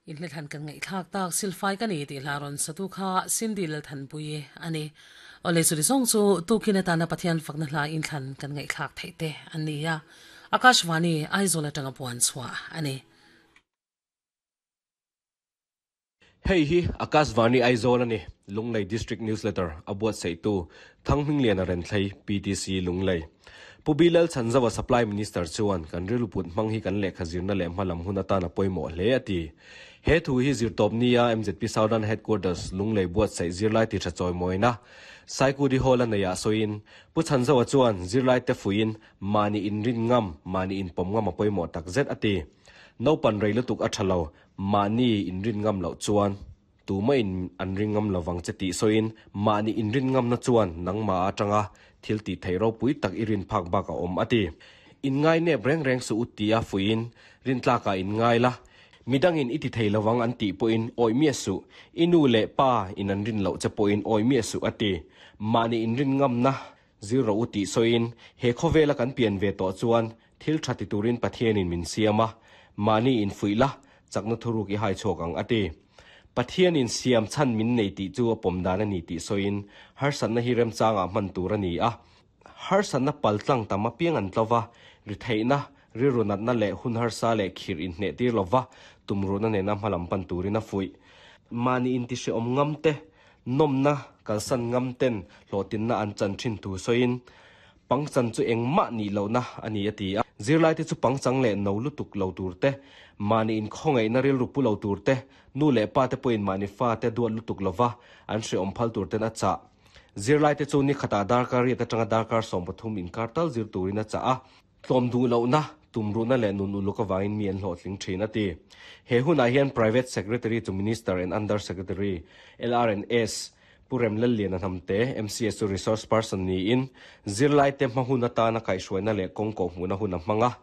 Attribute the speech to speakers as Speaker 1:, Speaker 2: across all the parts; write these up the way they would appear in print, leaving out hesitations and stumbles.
Speaker 1: Inhlethan kan ngaihthlak tak silfai ka ni tih hla rawn satu kha Cindy Lalthanpuii a ni. Awle chuli zawng chu tukin atana Pathian fakna hla inthlan kan ngaihthlak theih te an ni a, Akashvani Aizawl atanga puan chhuah a ni.
Speaker 2: Hei hi Akashvani Aizawl a ni, Lunglei District Newsletter a buatsaihtu Thanghmingliana Renthlei, PTC, Lunglei. Pu Bilal Chhanzova Supply Minister chuan kan rilru put hmang hi kan lehkha zirna leh hmalam hun atan a pawimawh hle a ti. He thu hi zirtawp nia mzp Southern Headquarters Lunglei buatsaih zirlai ti tha chawimawina Saikudi Hall a neiah sawiin Pu Chhanzova chuan zirlaite fuiin mahni inrin ngam, mahni inpawm ngam a pawimawh takzet a ti. Naupan rei lutuk a tha lo, mahni inrin ngam loh chuan. Tumah in an ring ngam lovang che tih sawiin mahni inrin ngamna chuan nangmah atanga thil tih theih ropui tak i rin phak bak a awm a ti. Inngai nep reng reng suh u tia fuiin rintlakah inngai la, midangin i ti thei lovang an tih pawhin awih miah suh, i nu leh pa in an rin loh che pawhin awih miah suh a ti. Mahni inrin ngamna zir rawh u tih sawiin he khawvela kan pian ve tawh chuan thil tha ti turin Pathianin min siam a, mahni infuih la, chakna thuruk i hai chhuak ang a ti. Pathianin siam chhan min nei tih chu a pawm dan a ni tih sawiin harsatna hi remchangah hman tur a ni a. Harsatna paltlang tam apiang an tlo va, ri theihna, rilru natna leh hun harsa leh khirh inhneh tir lo va, tumruhna nena hmalam pan turin a fuih. Mahni intihrehawm ngam te, nawmna kalsan ngam ten hlawhtinna an chan thin thu sawiin Pangchan chu engmah nih lohna a ni a ti a. Zirlaite chu pangchang leh no lutuk lo tur te, mahni inkhawngaihna rilru pu lo tur te, nu leh pa te pawhin mahni fa te duat lutuk lova an hrehawm phal tur ten a chah. Zirlaite chu ni khatah darkar riat atanga darkar 13 inkar tal zir turin a chah a. Tlawm duh lohna, tumruhna leh nun uluk avangin mi an hlawhtling thin a ti. He hunah hian Private Secretary to Minister and Under Secretary, LRNS, Pu Remlalliana Hnamte, MCS chu Resource Person niin, zirlaite hma hun atana kaihhruaina leh kawng kawhhmuhna hun a hmang a.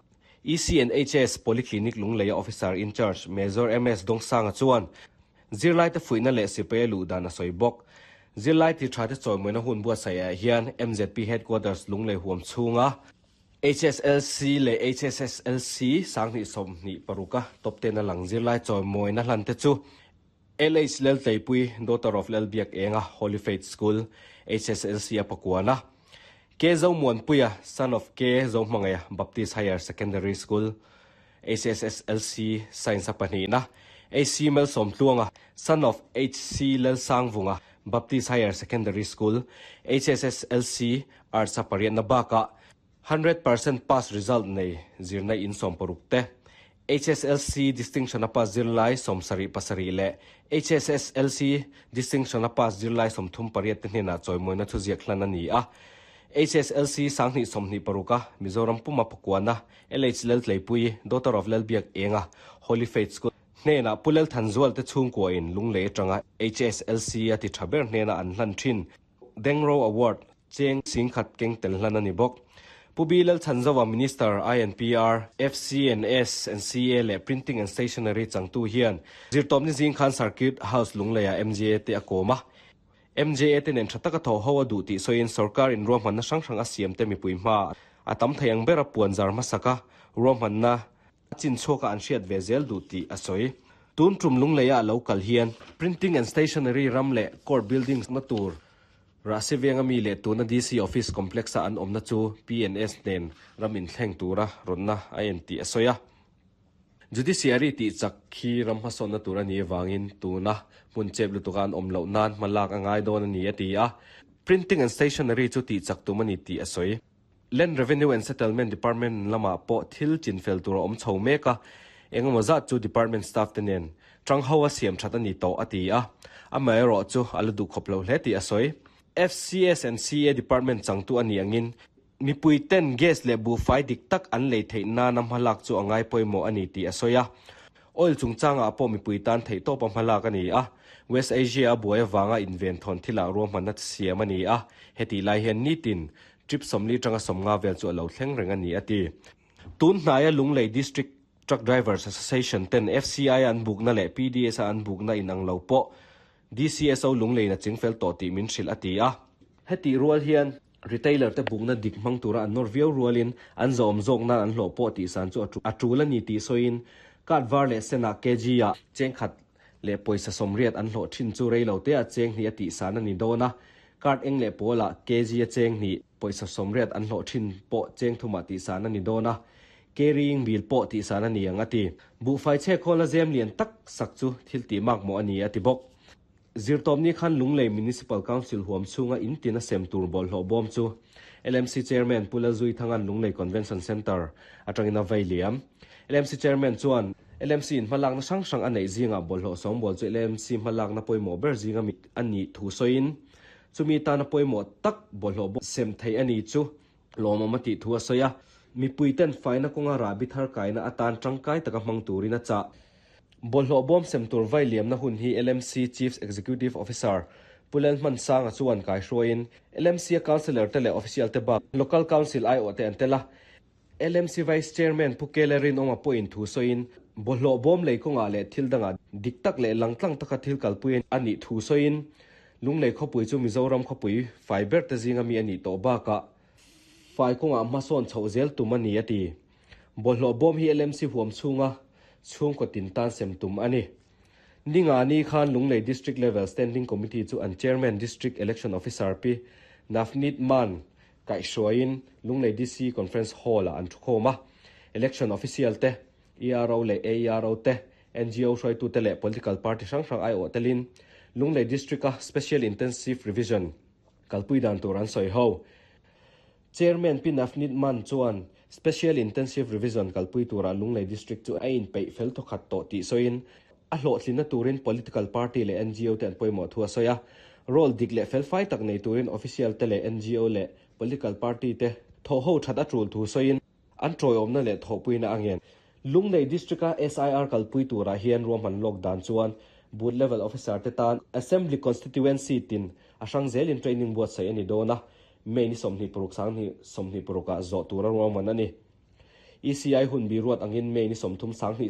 Speaker 2: EC and HS Polyclinic Lungleia Officer in Charge Major MS Dongsanga chuan zirlaite fuihna leh sipai a luh dan a sawi bawk. Zirlai ti thate chawimawina hun buatsaihah hian mzp Headquarters Lunglei huam chhunga HSLC leh HSSLC 2026 a top ten a lang zirlai chawimawina hlan te chu LH Laltleipui, daughter of Lalbiak Enga, Holy Faith School, HSLC a pakuana, K Zomuanpuia, son of K Zohmangaia, Baptist Higher Secondary School, HSSLC Science a pahnihna, HC Malsawmtluanga, son of HC Lalsangvunga, Baptist Higher Secondary School, HSSLC Arts a pariatna bakah 100% pass result nei zirna in 60 te, HSLC distinction a pass zirlai 77 leh HSSLC distinction a pass zirlai 38 te hnenah chawimawina thuziak hlan a ni a. HSLC 2026 a Mizoram puma pakuana LH Laltleipui, daughter of Lalbiak Enga, Holy Faith School, hnenah Pu Lalthanzual te chhungkua in Lunglei atanga HSLC a ti tha ber hnena an hlan thin. Dengro Award, cheng 10,000 keng tel hlan a ni bawk. Pu B Lalchhanzova Minister, INPR, FCNS and CA leh Printing and Stationery changtu hian zirtawpni zing khan Circuit House Lungleiah MJA te a kawm a. MJA te nen tha taka thawh ho a duh tih sawiin sorkar in ruahmanna hrang hrang a siam te mipui hma a tam thei ang bera puan zar hmasak a ruahmanna a chin chhuaka an hriat ve zel duh tih a sawi. Tun tum Lungleia a lo kal hian Printing and Stationery ram leh Court Buildings na tur Rahsi venga mi leh tuna DC Office Complex a an awmna chu PNS nen ram inthleng tura rawnna a en tih a sawi a. Judiciary tih chak khi ram hmasawnna tur a nih avangin tuna hmun chep lutuka an awm loh nan hma lak a ngai dawn a ni a ti a. Printing and Stationery chu tih chak tum a ni tih a sawi. Land Revenue and Settlement Department lamah pawh thil chinfel tur a awm chho mek a, engemaw zat chu department staff te nen tang ho a siam that a ni tawh a ti a, amaherawh chu a la duh khawp lo hle tih a sawi. FCS and CA Department changtu a nih angin mipui ten gas leh buhfai dik tak an lei theih nana hmalak chu a ngai pawimawh a ni tih a sawi a. Oil chungchangah pawh mipui tan theihtawpa hmalak a ni a, West Asia a buai avanga inven thawn thilah ruahmanna siam a ni a, hetih lai hian nitin Trip 40 atanga 50 vel chu a lo thleng reng a ni, a ti. Tun hnaia Lunglei District Truck Drivers Association ten FCI a an bukna leh PDS a an bukna inang lo pawh DCSO Lungleiin a chingfel tawh tih min hrilh a ti a. Hetih rual hian retailer te bukna dik hmang tura an nawr viau rualin an zawhawm zawk nan an hlawh pawh tihsan chu a tul a ni tih sawiin Card var leh senah kg ah cheng khat leh pawisa 80 an hlawh thin chu rei lo te ah cheng hnih a tihsan a ni dawn a, card eng leh pawl ah kg a cheng hnih pawisa 80 an hlawh thin pawh cheng thum ah tihsan a ni dawn a, carrying bill pawh tihsan a ni ang a ti. Buhfai chhe khawlna zem lian tak sak chu thil tih mak mawh a ni a ti bawk. Zirtawpni khan Lunglei Municipal Council huam chhunga in tin a sem tur bawlhhlawh bawm chu LMC Chairman Pu Lalzuithanga'n Lunglei Convention Centre atangin a vei liam. LMC Chairman chuan LMC in hmalakna hrang hrang a neih zingah bawlhhlawh sawngbawl chu LMC hmalakna pawimawh ber zinga mi a nih thu sawiin chumi tana pawimawh tak bawlhhlawh bawm sem theih a ni chu lawmawm a tih thu a sawi a. Mipuiten faina kawnga rahbi thar kaina atan tangkai taka hmang turin a chah. Bawlhhlawh bawm sem tur vai liamna hun hi LMC Chief Executive Officer Pu Lalhmansanga chuan kaihruaiin LMC-a Councillor te leh Official te bak Local Council aiawh te an tel a. LMC Vice Chairman Pu Kele Rinawma pawhin thu sawiin bawlhhlawh bawm lei kawngah leh thil dangah dik tak leh langtlang taka thil kalpui a nih thu sawiin Lunglei khawpui chu Mizoram khawpui fai ber te zinga mi a nih tawh bakah fai kawngah hmasawn chhoh zel tum a ni a ti. Bawlhhlawh bawm hi LMC huam chhunga chhungkaw tin tan sem tum a ni. Ningani khan Lunglei District Level Standing Committee chu an Chairman District Election Officer Pi Navneet Mann kaihhruaiin Lunglei DC Conference Hall-ah an thukhawm a. Election Official te, ERO leh AERO te, NGO hruaitute leh Political Party hrang hrang aiawh telin Lunglei District-a Special Intensive Revision kalpui dan tur an sawi ho. Chairman Pi Navneet Mann chuan Special Intensive Revision kalpui turah Lunglei District chu a inpeih fel thawkhat tawh tih sawiin, a hlawhtlinna turin political party leh NGO te an pawimawh thu a sawi a. Role dik leh felfai tak nei turin official te leh NGO leh political party te thawhho that a tul thu sawiin, an tawiawmna leh thawhpuina a ngen. Lunglei District-a SIR kalpui turah hian ruahman lawk dan chuan Booth Level Officer te tan Assembly Constituency tin a hrang zelin training buatsaih a ni dawn a, May ni 26 2026 ah zawh tura ruahman a ni. ECI hun bi ruat angin May ni 30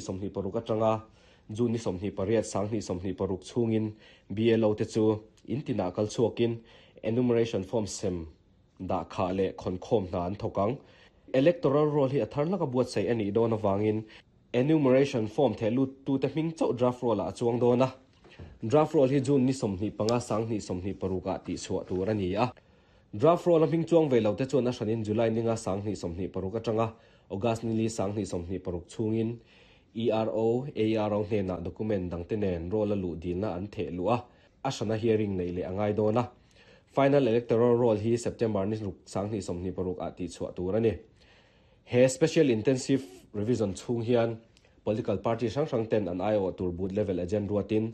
Speaker 2: 2026 atanga June ni 28 2026 chhungin BLO te chu in tinah kal chhuakin enumeration form sem dah khah leh khawnkhawm hna an thawk ang. Electoral roll hi a thar hlaka buatsaih a nih dawn avangin enumeration form theh luttute hming chauh draft roll ah a chuang dawn a. Draft roll hi June ni 25 2026 ah tihchhuah tur a ni a. Draft roll a hming chuang ve lo te chuan a hranin July ninga 2026 atanga August nili 2026 chhungin ERO, AERO hnenah document dangte nen roll a luh dilna an theh luh a, a hrana hearing neih leh a ngai dawn a. Final Electoral Roll hi September ni ruk 2026 ah tihchhuah tur a ni. He Special Intensive Revision chhung hian Political party hrang hrang ten an aiawh tur booth level agent ruatin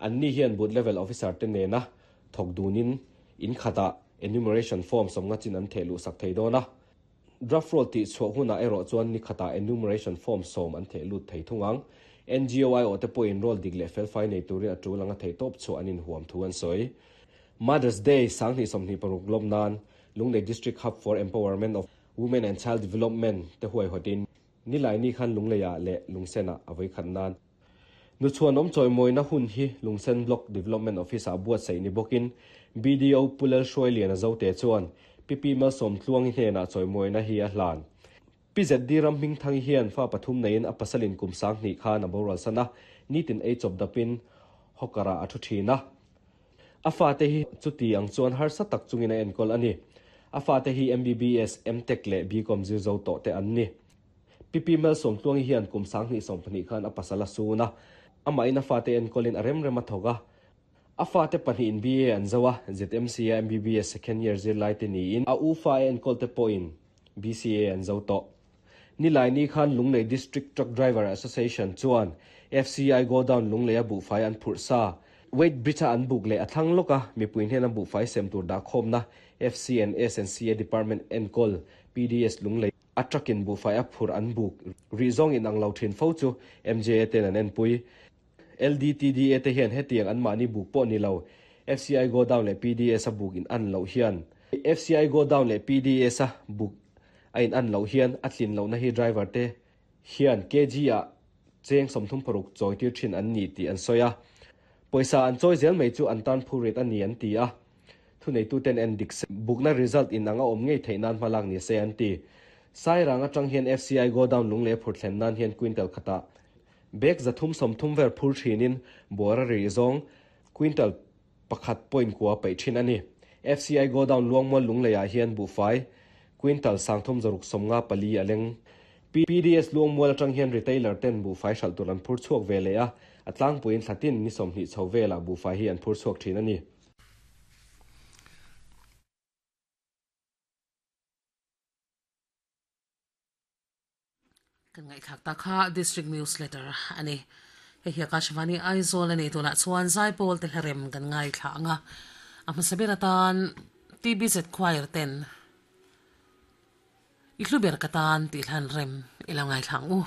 Speaker 2: anni hian booth level officer te nena thawk dunin in khatah enumeration form sawmnga chin an theh luh sak thei dawn a. Draft roll tih chhuah hunah erawh chuan ni khatah enumeration form sawm an theh lut thei thung ang. NGO aiawh te pawhin roll dik leh felfai nei turin a tul anga thei tawp chhuah an inhuam thu an sawi. Mother's Day 2026 lawm nan Lunglei District Hub for Empowerment of Women and Child Development te huaihawtin Nilaini khan Lungleiah leh Lungsenah a vawi khat nan. Nuchhuanawm chawimawina hun hi Lungsen Block Development Office-ah buatsaih ni bawkin BDO Pu Lalhruailiana Zote chuan Pi Pi Malsawmtluangi hnenah chawimawina hi a hlan. Pi ZD Ramhmingthangi hian fa pathum neiin a pasalin kum 2000 khan a boral san a, nitin ei chawp dapin hawker-ah a thu thin a. A fate hi chuti ang chuan harsa tak chungin a enkawl a ni. A fate hi MBBS, MTech leh BCom zir zo tawh te an ni. Pi Pi Malsawmtluangi hian kum 2020 khan a pasal a sun a, amahin a fate enkawlin a rem rem a thawk a. A fate pahnihin BA an zo a, ZMC-a MBBS second year zirlai te niin a u fa a enkawl te pawhin BCA an zo tawh. Nilaini khan Lunglei District Truck Driver Association chuan FCI Godown Lungleia buhfai an phurh sa. Weight Bridge-a an buk leh a thlang lawk a, mipui hnena buhfai sem tur dah khawmna FC and S and CA Department enkawl PDS Lunglei a truck-in buhfai a phurh an buk rih zawng inang lo thin fo chu MJA ten an enpui. LDTDA te hian hetiang anmahni buk pawh ni lo, FCI Godown leh PDS a buk in an loh hian FCI Godown leh PDS a buk a in an loh hian a tlin lohna hi driver te hian kg ah cheng 36 chawi tir thin an ni tih an sawi a. Pawisa an chawi zel mai chu an tan phur rit a ni an ti a. Thuneituten en dik se bukna result in ang a awm ngei theih nan hmalak ni se an ti. Sairang atang hian FCI Godown Lunglei phur thlen nan hian quintal khatah. Bag 330 vel phur thinin buara ri zawng quintal 1.4 paih thin a ni. FCI Godown Luangmual Lungleiah hian buhfai quintal 364 a leng. PDS Luangmual atang hian retailer ten buhfai hralh tur an phur chhuak ve leh a, a tlangpuiin thlatin ni 20 chho velah buhfai hi an phur chhuak thin a ni.
Speaker 1: Kan ngaihthlak ta kha District Newsletter a ni. Hei hi Akashvani Aizawl a ni. Tunah chuan Zaipawl te hlarem kan ngaithla ang a. A hmasa ber atan TBZ Choir ten I hlu ber ka tan tih hlan rem i lo ngaithla ang u.